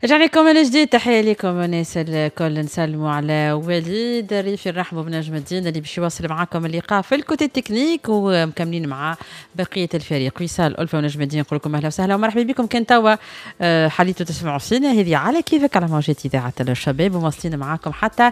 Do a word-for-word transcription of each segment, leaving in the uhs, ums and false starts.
رجعنا لكم من جديد، تحية لكم الناس الكل. نسلموا على وليد الريفي، نرحبوا بنجم الدين اللي باش يواصل معاكم اللقاء في ال côté technique، ومكملين مع بقية الفريق وصال ألفة ونجم الدين. نقول لكم أهلا وسهلا ومرحبا بكم. كان توا آه، حليتوا تسمعوا فينا، هذه على كيفك على موجات إذاعة الشباب، ومواصلين معاكم حتى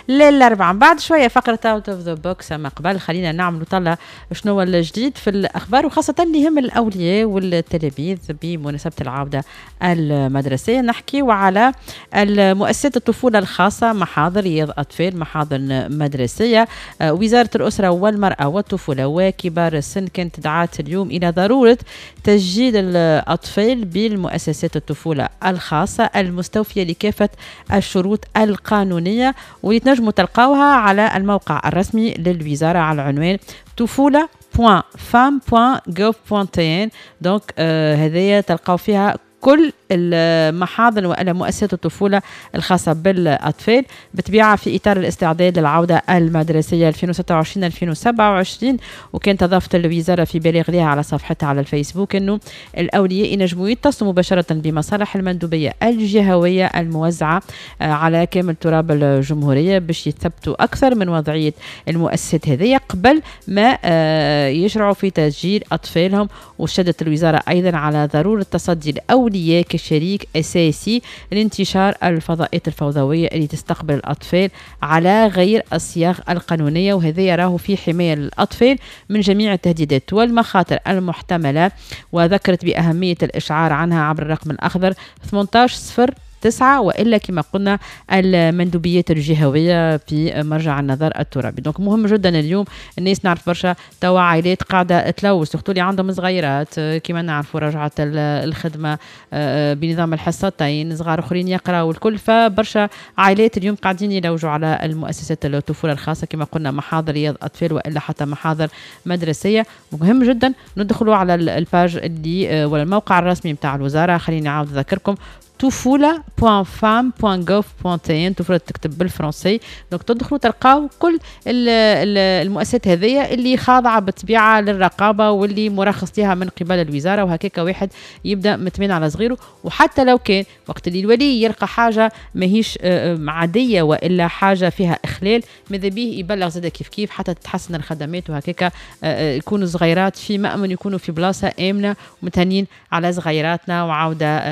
للأربعة. بعد شوية فقرة out of the box، أما قبل خلينا نعملوا طلة شنو الجديد في الأخبار، وخاصة اللي يهم الأولياء والتلاميذ بمناسبة العودة المدرسية. نحكي وعلى المؤسسات الطفولة الخاصة، محاضن رياض أطفال، محاضن مدرسية. آه، وزارة الأسرة والمرأة والطفولة وكبار السن كانت دعات اليوم إلى ضرورة تسجيل الأطفال بالمؤسسات الطفولة الخاصة المستوفية لكافة الشروط القانونية، واللي تنجموا تلقاوها على الموقع الرسمي للوزارة على العنوان طفولة point fam point gov point tn. donc هذايا تلقاو فيها كل المحاضن والا مؤسسات الطفولة الخاصة بالاطفال، بطبيعة في اطار الاستعداد للعودة المدرسية ألفين وستة وعشرين ألفين وسبعة وعشرين. وكانت اضافت الوزارة في بلاغ لها على صفحتها على الفيسبوك انه الاولياء ينجموا يتصلوا مباشرة بمصالح المندوبيه الجهوية الموزعه آه، على كامل تراب الجمهورية باش يثبتوا اكثر من وضعية المؤسسات هذه قبل ما آه، يشرعوا في تسجيل اطفالهم. وشددت الوزارة ايضا على ضرورة تصدي الاولياء كشريك اساسي لانتشار الفضاءات الفوضويه اللي تستقبل الاطفال على غير الصيغ القانونيه، وهذا يراه في حماية للاطفال من جميع التهديدات والمخاطر المحتمله. وذكرت باهمية الاشعار عنها عبر الرقم الاخضر ثمنطاش صفر تسعة، والا كما قلنا المندوبيات الجهوية في مرجع النظر الترابي. donc مهم جدا اليوم الناس، نعرف برشا توا عائلات قاعدة تلوج، surtout اللي عندهم صغيرات، كما نعرفوا رجعت الخدمة آه، بنظام الحصتين، صغار اخرين يقراوا الكل، فبرشا عائلات اليوم قاعدين يلوجوا على المؤسسات الطفولة الخاصه، كما قلنا محاضر رياض اطفال والا حتى محاضر مدرسيه. مهم جدا ندخلوا على ال page اللي آه، ولا الموقع الرسمي نتاع الوزاره. خليني نعاود نذكركم طفولة point fam point gov point tn، طفولة تكتب بالفرنسي. donc تدخلوا تلقاو كل المؤسسات هذيا اللي خاضعة بالطبيعة للرقابة واللي مرخص لها من قبل الوزارة، وهكاك واحد يبدا مطمئن على صغيرة. وحتى لو كان وقت اللي الولي يلقى حاجة ماهيش آه، آه، عادية والا حاجة فيها إخلال، ماذا به يبلغ زاد كيف كيف حتى تتحسن الخدمات، وهكاك آه، يكونوا صغيرات في مأمن، يكونوا في بلاصة آمنة ومتهنين على صغيراتنا. وعودة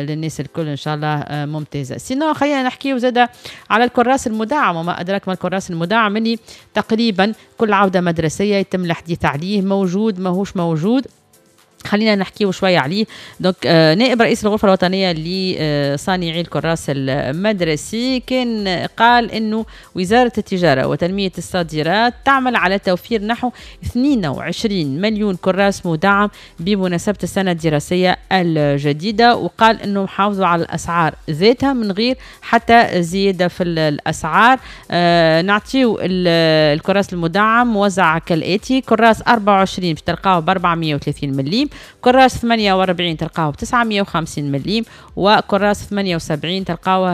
للناس الكل ان شاء الله ممتازه. sinon خلينا نحكيو زاده على الكراس المدعم، وما ادراك ما الكراس المدعم، اللي تقريبا كل عوده مدرسيه يتم الحديث عليه، موجود ماهوش موجود. خلينا نحكيو شوية عليه. donc آه نائب رئيس الغرفة الوطنية لصانعي الكراس المدرسي كان قال انه وزارة التجارة وتنميه الصادرات تعمل على توفير نحو اثنين وعشرين مليون كراس مدعم بمناسبة السنة الدراسية الجديده، وقال انه حافظوا على الاسعار ذاتها من غير حتى زيادة في الاسعار. آه نعطيو الكراس المدعم موزع كالاتي: كراس أربعة وعشرين باش تلقاوه ب أربعمية وثلاثين مليم، كراس ثمانية وأربعين تلقاوه ب تسعمية وخمسين مليم، وكراس ثمانية وسبعين تلقاوه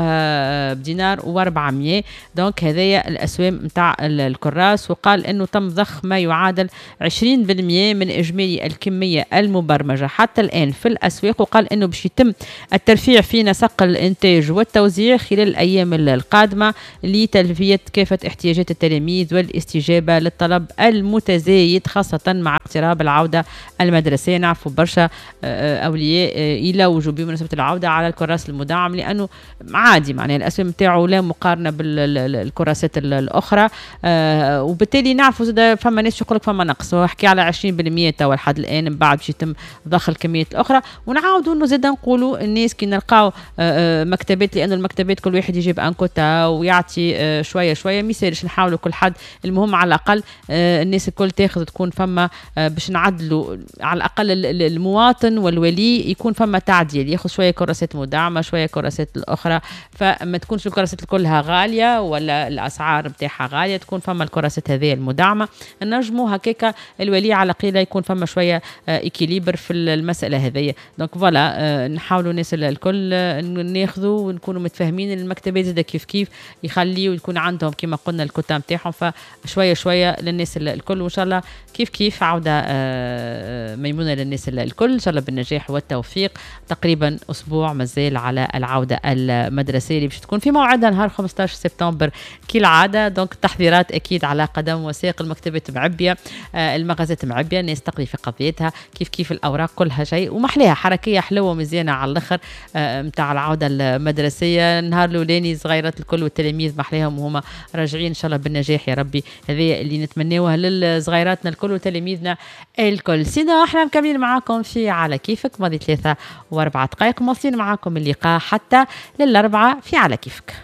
بدينار وأربعمية. donc هذايا الاسوام نتاع الكراس. وقال انه تم ضخ ما يعادل عشرين في المية من اجمالي الكمية المبرمجه حتى الان في الاسواق، وقال انه باش يتم الترفيع في نسق الانتاج والتوزيع خلال الايام القادمة لتلبية كافة احتياجات التلاميذ والاستجابة للطلب المتزايد، خاصة مع اقتراب العودة المدرسيه. نعرفوا برشا آه، آه، اولياء آه، يلوجوا بمناسبة العودة على الكراس المدعم، لانه عادي معناها الاسوام نتاعو لا مقارنة بالكراسات الاخرى. وبالتالي نعرفوا زاد فما ناس يقول لك فما نقص، وحكي على عشرين في المية توا لحد الان، من بعد باش يتم ضخ الكميات الاخرى. ونعاودوا انه زاد نقولوا الناس كي نلقاو مكتبات، لانه المكتبات كل واحد يجيب un quota ويعطي شوية شويه، ما يسالش نحاولوا كل حد، المهم على الاقل الناس الكل تاخذ، تكون فما باش نعدلوا على الاقل المواطن والولي يكون فما تعديل، ياخذ شوية كراسات مدعمه، شوية كراسات الاخرى، فما تكونش الكراسات كلها غالية ولا الاسعار نتاعها غاليه، تكون فما الكراسات هذه المدعمه، نجموا هكاكا الولي على قيله يكون فما شوية équilibre في المسالة هذه. donc voilà، نحاولوا الناس الكل ناخذوا ونكونوا متفاهمين. المكتبات زاد كيف كيف يخليوا يكون عندهم كما قلنا الكوتا نتاعهم، فشوية شوية للناس الكل، وان شاء الله كيف كيف عوده آه، ميمونة للناس. للناس الكل، ان شاء الله بالنجاح والتوفيق. تقريبا اسبوع مازال على العودة المدرسية اللي باش تكون في موعدها نهار خمسطاش سبتمبر كالعاده. donc التحضيرات اكيد على قدم وساق، المكتبات معبيه، آه، المغازات معبيه، الناس تقضي في قضيتها كيف كيف، الاوراق كلها شيء ومحليها، حركية حلوة مزيانه على الاخر نتاع العودة المدرسيه. النهار الاولاني صغيرات الكل والتلاميذ محليهم وهما راجعين، ان شاء الله بالنجاح يا ربي، هذه اللي نتمناوها للصغيراتنا الكل وتلاميذنا الكل. sinon احنا مكملين معاكم في على كيفك، ماضي ثلاثة واربعة دقائق، مواصلين معاكم اللقاء حتى للأربعة في على كيفك.